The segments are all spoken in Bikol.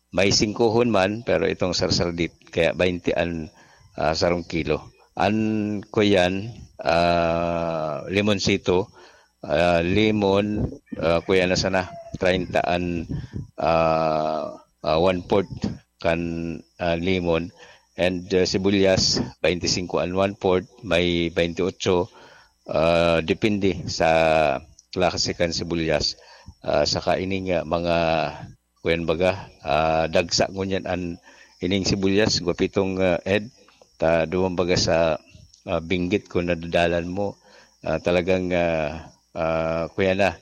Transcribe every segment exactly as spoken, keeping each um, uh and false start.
May singkohon man, pero itong sarsardit, kaya baynte an, ah, sarong kilo. An kuyan, ah, limonsito, ah, limon, ah, kuyan na sana, treinta an, ah, ah, one-fourth kan, ah, limon. And, ah, sibuyas, baynte singko an one-fourth, may baynte otso, ah, depende sa klase kan sibuyas. Ah, saka ining, ah, mga kuyan baga, ah, dagsa ngunyan an ining sibuyas, gwapitong, ah, Ed, ta duman baga sa, ah, binggit ko, nadadalan mo, ah, talagang, ah, ah, kuyan na,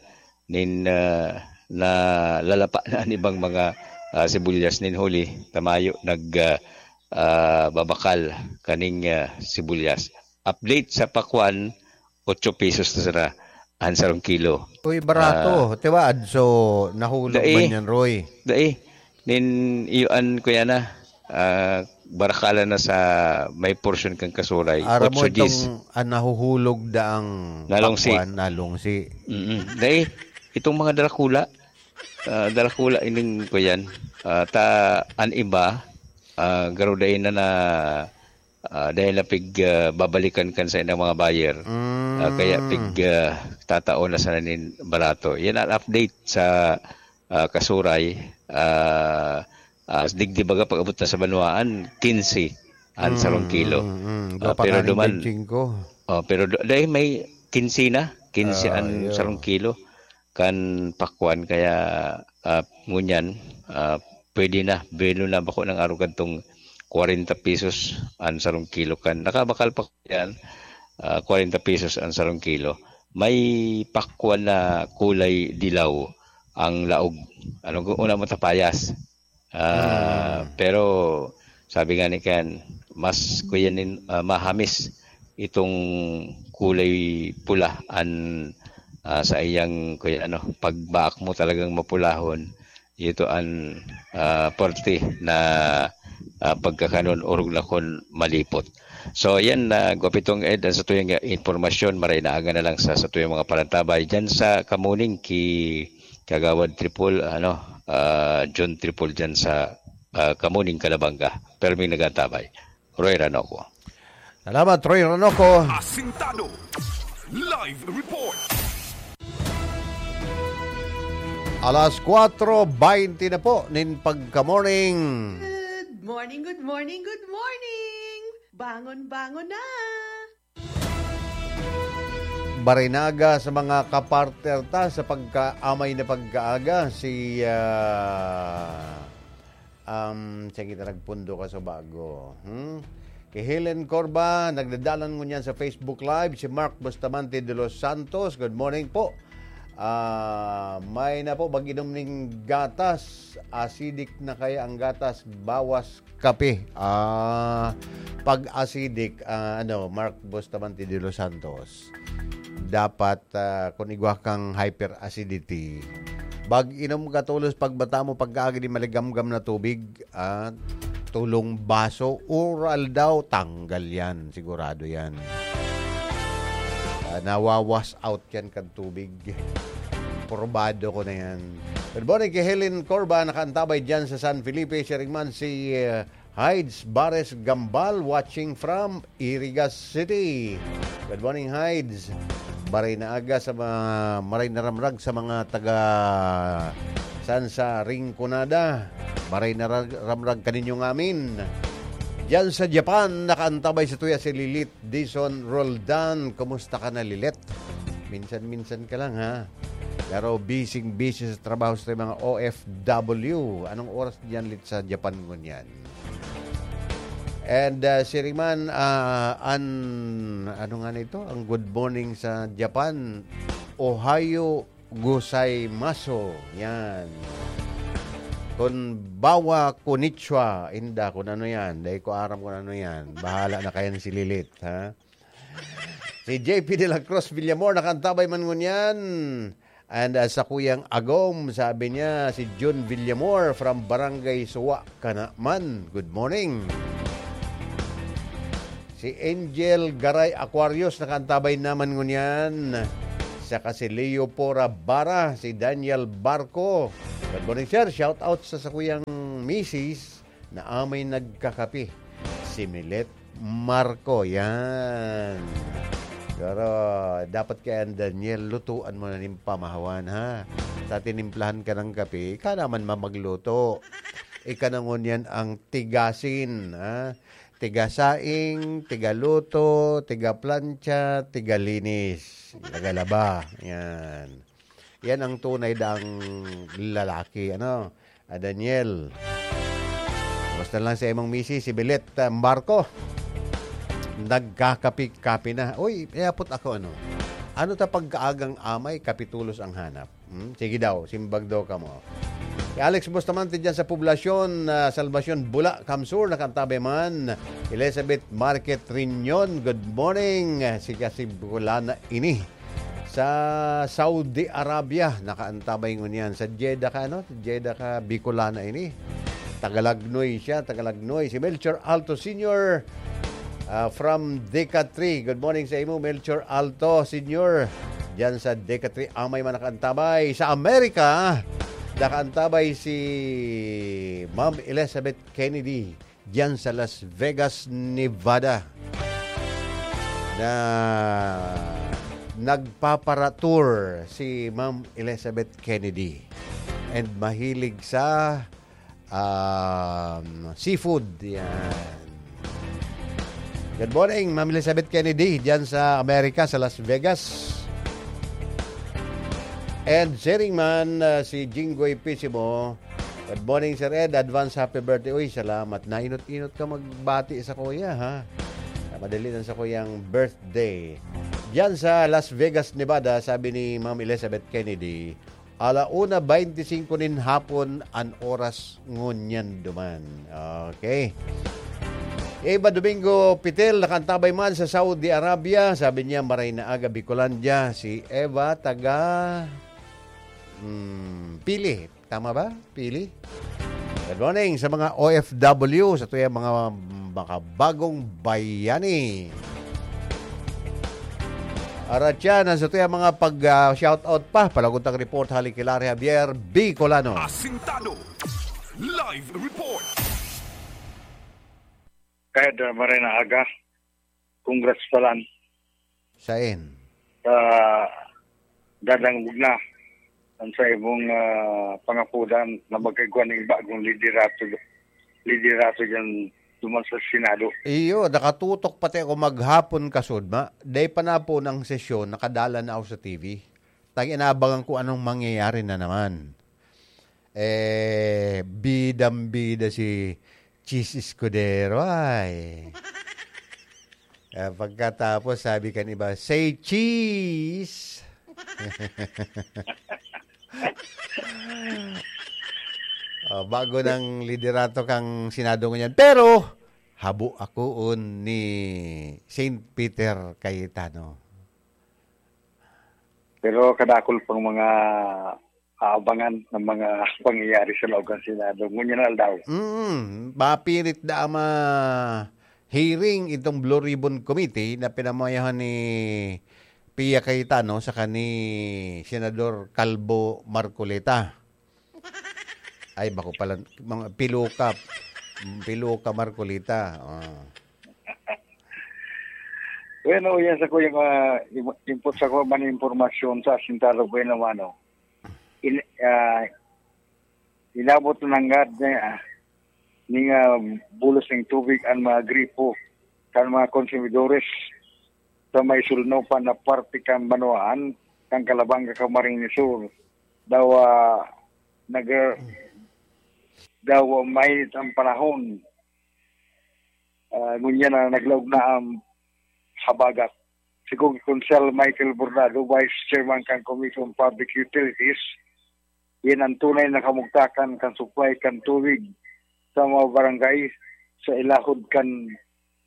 nin, ah, nalalapa na an ibang mga, ah, sibuyas nin huli, ta mayo nag, ah, ah, babakal kaning, ah, sibuyas. Update sa pakwan, otso pesos na sana an sarong kilo. Uy, barato. Ah, Tiwaad, so nahulog dai. Man yan, Roy? Dai. Nin iyo an kuyan na, ah, barakalan na sa may porsyon kan Kasuray, Aram mo otso diyes. Itong, ah, nahuhulog daang Nalungsi. Pakwan, nalungsi. Mm-mm. Dai, itong mga darakula, ah, darakula ining kuyan. Ah, ta, an iba, ah, garo dai na na, ah, dai na pig, ah, babalikan kan sa inang mga buyer. Ah, kaya Mm. pig, ah, tatao na sana nin barato. Yan ang update sa, ah, Kasuray. Ah, ah, digdi baga pag-abot na sa banwaan, kinse an sarong Mm, kilo. mm, mm. Ah, Dopa pero kaning duman, benching ko. Oh, pero do-, dahil may kinse na, kinse Ah, an iyo. Sarong kilo kan pakwan, kaya, ah, ngunyan, ah, pwede na, belo na bako ng arog kadtong kwarenta pesos an sarong kilo kan. Nakabakal pa ko yan, ah, kwarenta pesos an sarong kilo. May pakwan na kulay dilaw ang laog. Ano, una mo tapayas. Ah, Mm. pero sabi nga ni Ken, mas kuya nin, ah, mahamis itong kulay pula an, ah, sa iyang kuya ano, pagbaak mo talagang mapulahon, ito an, ah, parte na, ah, pagkakanon orog na kon malipot. So, yan, ah, Gwapitong Ed, ang sa tuyang impormasyon, maray na aga na lang sa, sa tuyang mga parantabay. Diyan sa Kamuning, ki Kagawad Tripol, ano, ah, John Tripol dyan sa, ah, Kamuning, Calabanga. Perming nagantabay. Roy Ranoco. Salamat, Roy Ranoco. Asintado. Live report. Alas kwatro baynte na po nin pagka-morning. Good morning, good morning, good morning! Bangon, bangon na! Barinaga sa mga kapartner ta sa pagkaamay na pagkaaga, si, ah, um, sige, ta nagpundo ka sa bago. Hmm? Kay Helen Corba, nagdadalan ngunyan sa Facebook Live, si Mark Bustamante de los Santos. Good morning po. Ah, may na po, mag-inom ning gatas. Acidic na kaya ang gatas, bawas kape. Ah, pag acidic, ah, ano, Mark Bustamante de los Santos, dapat, ah, kung igwa kang hyperacidity, mag-inom ka tolos pagbata mo pagkaagi nin maligamgam na tubig, ah, tolong baso, oral daw, tanggal yan, sigurado yan. Ah, nawawas out yan kan tubig. Probado ko na yan. Good morning kay Helen Corba, nakaantabay dyan sa San Felipe. Siring man si, eh, Hides Bares Gambal, watching from Iriga City. Good morning, Hides. Maray na aga sa mga, maray na ramrag sa mga taga san sa Rinconada. Maray na rag-, ramrag kaninyo ngamin. Diyan sa Japan, nakaantabay sa tuya si Lilith Dison Roldan. Kumusta ka na, Lilith? Minsan-minsan ka lang, ha? Pero busy-busy sa trabaho sa mga O F W. Anong oras diyan, Lit, sa Japan ngunyan? And, ah, siring man, ah, an-, ano nga nito? Ang good morning sa Japan, "Ohayo gozaimasu." Yan. "Konbawa, konnichiwa." Inda, kung ano yan. Dahil ko aram kung ano yan. Bahala na kayan si Lilith, ha? Si J P de la Cruz Villamor, nakaantabay man ngunyan. And, ah, sa kuyang agom, sabi niya, si Jun Villamor from Barangay Suwa, Canaman. Good morning. Si Angel Garay Aquarius, nakaantabay naman ngunyan. Saka si Leo Pora Bara, si Daniel Barco. Good morning, sir. Shout out sa, sa kuyang misis na amay nagkakape, si Milet Marco. Yan. Pero dapat kaya, Daniel, lutuan mo na nin pamahawan, ha? Sa tinimplahan ka ng kape, ika naman mamagluto. Ika na ngunyan ang tigasin, ha? Tigasaing, tigaluto, tigaplantsa, tigalinis, tagalaba. Yan. Yan ang tunay daang lalaki, ano? Ah, Daniel. Basta lang sa imong misis, si Bilet, ah, Marco. Nagkakapi-kapi na. Uy, iapot ako, ano? Ano ta pagkaagang amay, kapitulos ang hanap? Hmm? Sige daw, simbag daw kamo. Si Alex Bustamante dyan sa Poblacion, ah, Salvacion, Bula, Kamsur, nakantabay man. Elizabeth Market Riñon, good morning. Si Kasi Bulana ini. Sa Saudi Arabia, nakaantabay ngunyan. Sa Jeddah ka, ano? Jeddah ka, Bicolana ini. Tagalagnoy siya, Tagalagnoy. Si Melchor Alto Senior, ah, from Deca three. Good morning sa imo, Melchor Alto Senior. Diyan sa Deca three, amay man nakaantabay. Sa Amerika, nakaantabay si Ma'am Elizabeth Kennedy diyan sa Las Vegas, Nevada, na nagpapara-tour si Ma'am Elizabeth Kennedy. And mahilig sa, um, seafood. Yan. Good morning, Ma'am Elizabeth Kennedy, diyan sa Amerika, sa Las Vegas. And sharing man, ah, si Jinggoy Pisimo. Good morning, Sir Ed. Advance happy birthday. Uy, salamat. Nainot-inot ka magbati sa kuya, ha? Ah, madali lang sa kuyang birthday. Diyan sa Las Vegas, Nevada, sabi ni Ma'am Elizabeth Kennedy, ala una baynte singko nin hapon an oras ngunyan duman. Okay. Eva Domingo Pitel, nakaantabay man sa Saudi Arabia. Sabi niya, "Maray na aga, Bicolandia." Si Eva, taga, hmm, Pili. Tama ba? Pili? Good morning sa mga O F W, sa tuyang mga makabagong bayani. Aratyan, sa tuyang mga pag, ah, shoutout pa. Palaguntang report, hali kay Larry Javier, Bicolano. Asintado. Live report. Ed, ah, maray na aga. Congrats palan. Sain? Sa dadangog na. Ang sa imong, ah, pangapudan na magkaigwa ning bagong liderato, liderato dyan duman sa Senado. Iyo, nakatutok pati ako maghapon kasudma. Day pa na po ng sesyon, nakadala na ako sa T V. Tang inabangan ko anong mangyayari na naman. Eh, bidang-bida si Cheese Escudero, ay. Ah, pagkatapos, sabi kan iba, "Say cheese!" Oh, bago ng liderato kang Senado ngunyan. Pero, habo akoon ni Saint Peter Cayetano. Pero kadakol pang mga aabangan ng mga pangyayari sa loob ng Senado ngunyan na aldaw. Mm, mapilit na ang ma-hearing itong Blue Ribbon Committee na pinamayahan ni Pia Cayetano saka ni Senador Calvo Marcoleta. Ay, bako pala, mga Piluka, Piluka Marcoleta. Oh. Bueno, yan sa ko yung, ah, im-, input sa ko man impormasyon sa Asintado Bueno, mano. In-, ah, inabot na nanggad na, ah, ning, ah, bulos ning tubig ang mga gripo kan mga konsumidores sa may sulnopan na parte kan banwaan kan Calabanga, Camarines Sur. Daw, ah, nag-, daw mainit ang panahon. Ah, ngunyan na naglaog na ang habagat. Sigon ki Konsehal Michael Bordado, Vice Chairman kan Commission on Public Utilities, yan ang tunay na kamugtakan kan supply kan tubig sa mga barangay sa ilahod kan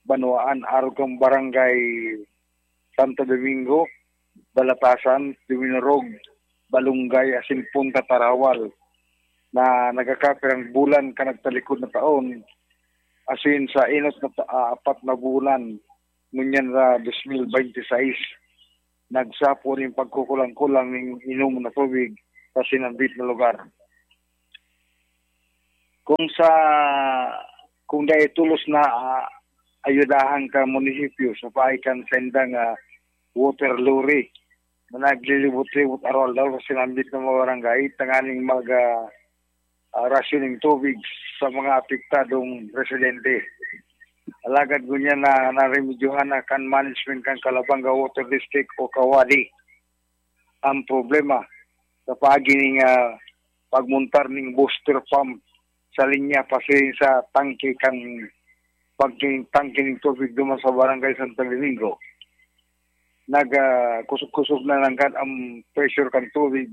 banwaan, arog kan Barangay Santo Domingo, Balatasan, Duminorog, Balungay, asin Punta Tarawal, na nagkakapirang bulan kan nagtalikod na taon, asin sa inot na ta-, ah, apat na bulan, ngunyan na dos mil baynte sais, nagsapo nin pagkukulang-kulang nin inom na tubig sa sinambit na lugar. Kung sa, kung dai tolos na, ah, ayudahan ka munisipyo sa paagi kan saindang, ah, water lorry na naglilibot-libot aroaldaw sa sinambit na mga barangay tanganing mag, ah, ah, rationing tubig sa mga apektadong residente. Alagad ngunyan na naremedyohan na kan management kan Calabanga Water District o Kawadi ang problema sa paagi ning, ah, pagmontar ning booster pump sa linya pasiring sa tangke kan pagking tangke ning tubig duman sa Barangay Santo Domingo. Nag, ah, kusog-kusog na nanggad ang pressure kan tubig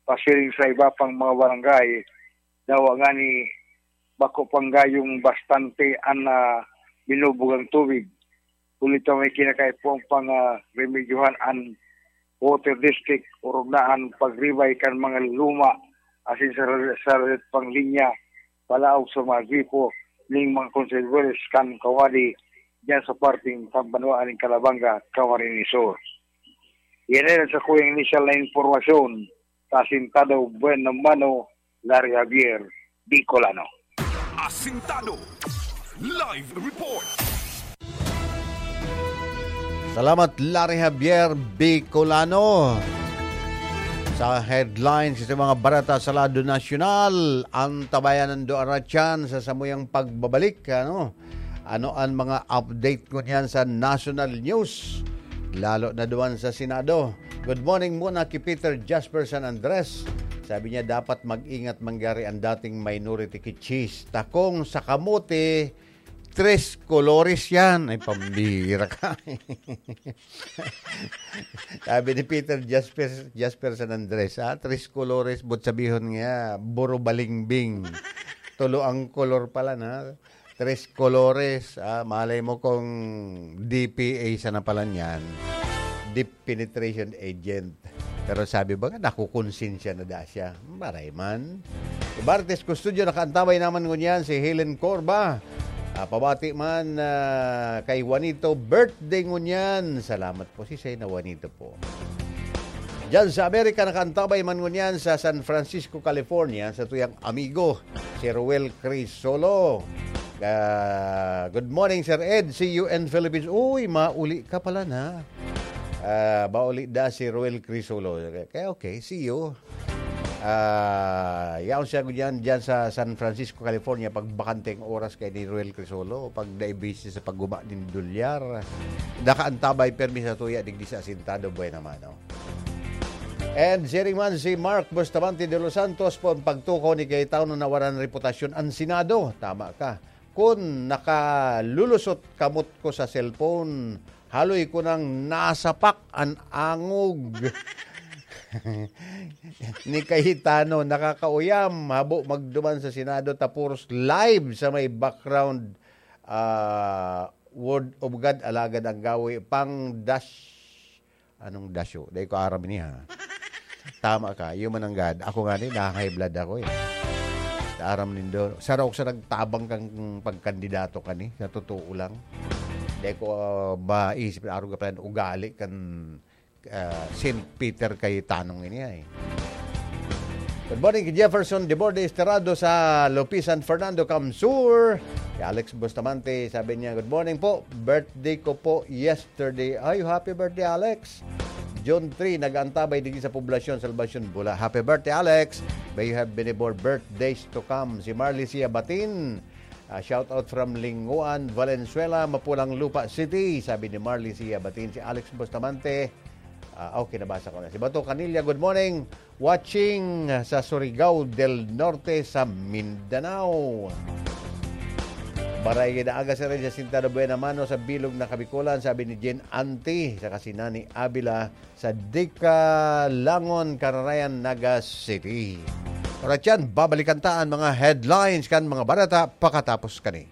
pasiring sa iba pang mga barangay. Dawa ngani, bako panggayong bastante an, ah, binubugang tubig. Huli ta may kinakaipuhan pang, ah, remedyohan an water district, orog na an pagribay kan mga luma asin sa, sa pang linya palaog sa mga gripo ning mga konsumidores kan Kawadi diyan sa parteng kan banwaan ning Calabanga, Camarines Sur. Yan na sa kuyang initial na impormasyon sa Asintado Buena Mano, Larry Javier, Bicolano. Asintado Live Report. Salamat, Larry Javier Bicolano. Sa headlines sa mga barata sa lado nasyonal, ang tabayan ng Duaratyan sa samuyang pagbabalik, ano? Ano ang mga update ko niyan sa national news? Lalo na duman sa Senado. Good morning muna kay Peter Jasper San Andres. Sabi niya, dapat mag-ingat mangyari ang dating minority kay Cheese. Takong sa kamote, tres colores yan. Ay, pambira ka. Sabi ni Peter Jasper, Jasper San Andres, ah, tres colores, but sabihon nga, buro balingbing. Tulo ang kolor pala na. Tres colores, ah, malay mo kung D P A sana pala niyan. Deep penetration agent. Pero sabi ba nga, nakukonsensya na da siya. Maray man. Ibartes Custodio, nakaantabay naman ngunyan si Helen Corba. Ah, pabati man ah, kay Juanito, birthday ngunyan. Salamat po si Sena Juanito po. Diyan sa Amerika, nakaantabay man ngunyan sa San Francisco, California, sa tuyang amigo, si Roel Crisolo. Ah, good morning, Sir Ed. See you in Philippines. Uy, mauli ka pala na. Ah, mauli da si Roel Crisolo. Kaya okay, see you. Ah, yaon siya diyan, diyan sa San Francisco, California, pag bakante ang oras kay ni Roel Crisolo, pag naibisi sa pagguba nin dolyar. Nakaantabay permi sa tuya, digdi sa Asintado, buena mano. And siring man si Mark Bustamante de los Santos po ang pagtukaw ni Cayetano na waran reputasyon ang Senado. Tama ka. Kun nakalulusot kamot ko sa cellphone, haloy ko nang nasapak an angog ni Cayetano. Nakakauyam, habo magduman sa Senado, tapos live sa may background, ah, Word of God, alagad ang gawi pang dash. Anong dasyo? Dai ko aram ini, ha. Tama ka, iyo man ang gad. Ako nga ni, na-high blood ako eh. Aram nindo. Saro ako sa nagtabang kang pagkandidato kani, sa totoo lang. Dai ko ah, maisip na arog pa yan, ugali kan ah, Saint Peter kay Tanong ini ay. Good morning kay Jefferson Deborde Esterado sa Lupisan, Fernando Camsur. Kay Alex Bustamante, sabi niya, "Good morning po. Birthday ko po yesterday." Ay, happy birthday, Alex. June three, nag-aantabay digdi sa Poblacion, Salvacion, Bula. Happy birthday, Alex. May you have many more birthdays to come. Si Marley Siabatin, ah, shout out from Linguan, Valenzuela, Mapulang Lupa City. Sabi ni Marley Siabatin, si Alex Bustamante. Ah, okay, nabasa ko na. Si Bato Canilla, good morning. Watching sa Surigao del Norte sa Mindanao. Barangay Naaga sa Red Jacinta de Buena Mano sa Bilog na Kabikolan, sabi ni Jen Anti, saka si Nani Avila sa Dikalangon, Kararayan, Naga City. Oras yan, babalikan ta ang mga headlines kan mga barata pakatapos kani.